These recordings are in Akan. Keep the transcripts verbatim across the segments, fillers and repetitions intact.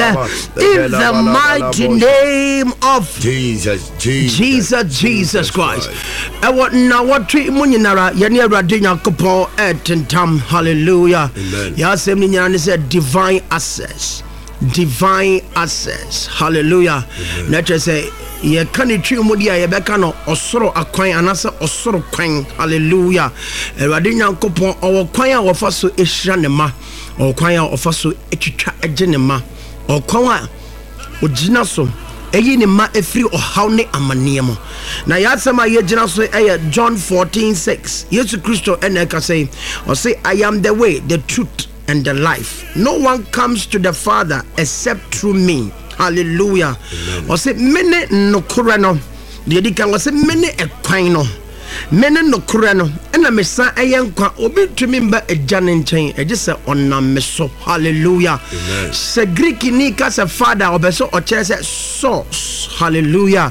In the mighty name of Jesus, Jesus, Jesus, Jesus Christ. Ɛwɔ nnawɔtwe mu nyinara, yɛne Awurade Nyankopɔn ɛtentam. Hallelujah. Amen. Yɛasɛm no nyinaa ne sɛ divine access, divine access. Hallelujah. Na kyerɛ sɛ yɛka ne twi mu deɛ a, yɛbɛka no ɔsoro akwan anaasɛ ɔsoro kwan. Hallelujah. Awurade Nyankopɔn ɔwɔ kwan a wɔfa so ɛhyira ne ma, ɔwɔ kwan a ɔfa so atwitwa agye ne ma, ɔwɔ kwan a ogyina so ɛyi ne ma ɛfiri ɔhaw ne amanneɛ mu. Na yɛasɛm a yɛgyina so ɛyɛ John fourteen six. Yesu Kristo ɛna ɛka sɛ, ɔse, "I am the way, the truth and the life. No one comes to the Father except through me." Hallelujah. Ɔse, "Mene nokorɛ no." Deɛ di kan, ɔse, "Mene ɛkwan no, mene nokorɛ no, ɛna mesa ɛyɛ nkwa. Obi ntumi mba Agya ne nkyɛn ɛgye sɛ ɔnam me so." Hallelujah. Sɛ Greek ni ka sɛ Father, ɔbɛ sɛ ɔkyerɛ sɛ source. Hallelujah.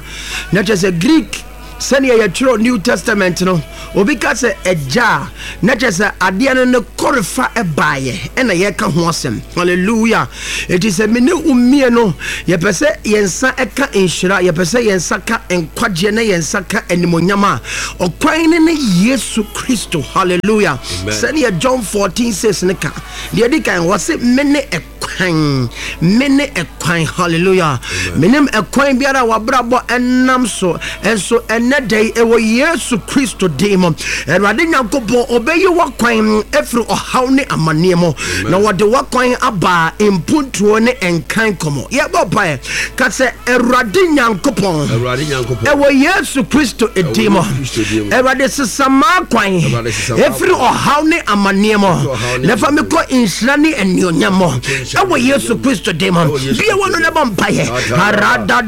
Na kyerɛ sɛ Greek, sɛnea yɛtwerɛ New Testament no, obi ka sɛ Agya a, na kyerɛ sɛ adeɛ no ne kɔrefa ɛbaeɛ ɛna yɛka ho asɛm. Hallelujah. Ɛnti sɛ mene wo mmienu yɛpɛ sɛ yɛn nsa ɛka nhyira, yɛpɛ sɛ yɛn nsa ka nkwagyeɛ na yɛn nsa ka animonyam a, ɔkwan ne ne Yesu Kristo. Hallelujah. Sɛdeɛ John fourteen six ne ka, deɛ di kan, wɔ se, "Mene ɛkwan, mene ɛkwan." Hallelujah. Menim ɛkwan biara a wabrabɔ ɛnam so, ɛnso ɛnɛ da yi, ɛwɔ Yesu Kristo din mu, Awurade Nyankopɔn ɔbɛyi wakwan ɛfiri ɔhaw ne amanneɛ mu na wɔde wakwan aba mpuntuo ne nkan kɔmɔ. Yɛbɔ mpaeɛ ka sɛ, "Awurade Nyankopɔn, Awurade Nyankopɔn, ɛwɔ Yesu Kristo din mu, Yesu Kristo din mu, Awurade, sesa m'akwan Awurade, sesa ɛfiri m'akwan. ɔhaw ne amanneɛ mu ɔhaw ne na fa me amanneɛ kɔ nhyira ne anuonyam mu, nhyira ɛwɔ ne Yesu anuonyam. Kristo din mu." Ɛwɔ Yesu Bia wɔ no Kristo ne bɔ mpaeɛ. Ataraba. Arada.